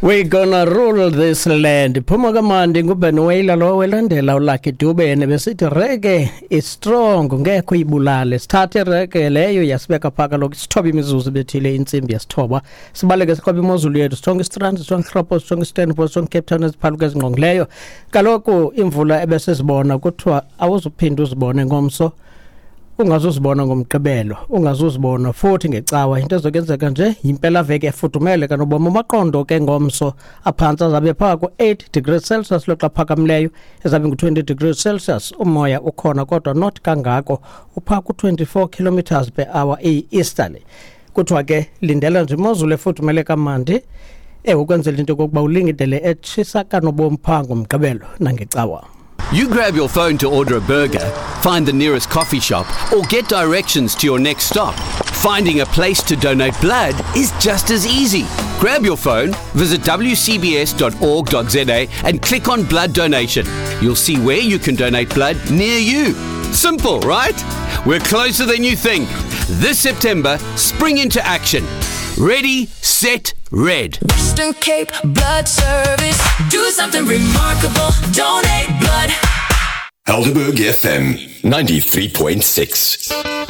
We gonna rule this land. Phuma kamandi nguBen Wailer lo welandela uLucky Dube nebesithi reggae is strong, ngekho ibulale. Sithathe reggae leyo yasibeka phaka kaloku isithoba imizuzu bethile intsimbi yesithoba. Sibaleke siqobe imozulu yethu, sithonga iStrand, sithonga iHlopo, sithonga iStanford, sithonga iCape Town eziphaluka ezingqongileyo. Kaloku imvula ebesizibona kuthiwa awuzuphinda uzibone ngomso, ungazuzibona ngomgqibelo, ungazuzibona futhi ngecawa. Into ezokwenzeka nje yimpelaveki efudumele kanobomi. Amaqondo ke ngomso aphantsi azabe phaa ku-8 degrees Celsius, loxa phakamileyo ezabe ngu-20 degrees Celsius. Umoya ukhona kodwa not kangako, uphaa ku-24 kilometers per hour eyi-easterly. Kuthiwa ke lindela nje imozulu efudumele kamandi, ewe, ukwenzela into yokokuba ulingidele etshisa kanobomi phaa ngomgqibelo nangecawa. You grab your phone to order a burger, find the nearest coffee shop, or get directions to your next stop. Finding a place to donate blood is just as easy. Grab your phone, visit wcbs.org.za and click on blood donation. You'll see where you can donate blood near you. Simple, right? We're closer than you think. This September, spring into action. Ready, set, red. Western Cape Blood Service. Do something remarkable. Donate blood. Helderberg FM 93.6.